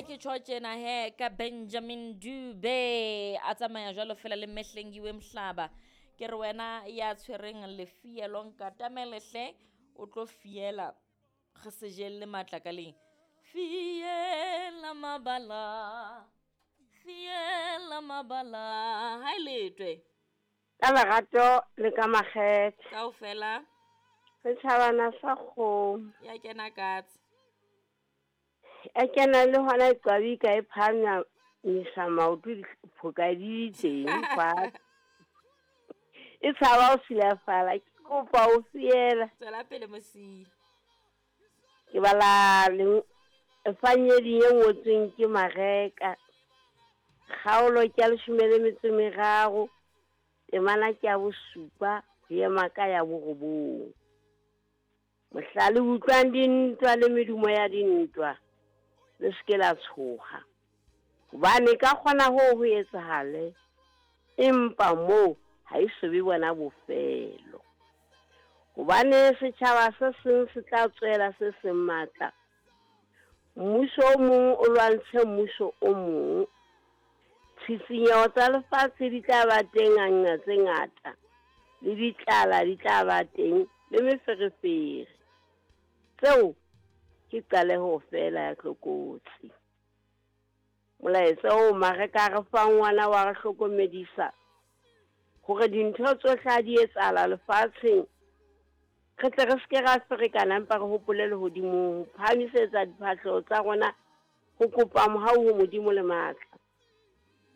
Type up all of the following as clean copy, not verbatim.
ke tjho tjena he ka Benjamin Dube a tsamaya jwalo fela le Mehlengiwe Mhlaba. Ke re wena ya tshwereng lefielo nkatamele hle o tlo fiela re se jelle matlakaleng. Fiela mabala, fiela mabala, ha e letwe. Ka lerato le ka makgethe. Kaofela. Setjhabana sa kgomo. Ya kena katse. E kena le hona e qwabika e phahamisa maoto diphoka di teng fatshe. E tshaba ho silafala, ke kopa ho fiela. Tswela pele mosiyi. Ke bala efangedi e ngotsweng ke Mareka. Kgaolo ke ya 13, temana ke ya 7 ho ema ka ya 9. Mohla le utlwang dintwa le medumo ya dintwa, le se ke la tshoha. Hobane ka kgona hoo ho etsahale, empa moo ha e so be bona bofelo. Hobane setjhaba se seng se tla tswela se seng matla, mmuso o mong o lwantshe mmuso o mong. Tshisinyeho tsa lefatshe di tla ba teng nqa tse ngata, le ditlala di tla ba teng, le meferefere. Tseo ke qaleho feela ya tlokotsi. Molaetsa oo Mareka a re fang wona wa re hlokomedisa hore dintho tsohle ha di etsahala lefatsheng, re tle re se ke ra ferekana, empa re hopole lehodimong ho phahamisetsa diphahleho tsa rona ho kopa mohau ho Modimo le matla.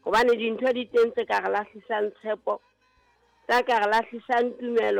Hobane dintho di teng tse ka re lahlisang tshepo, tsa ka re lahlisang tumelo,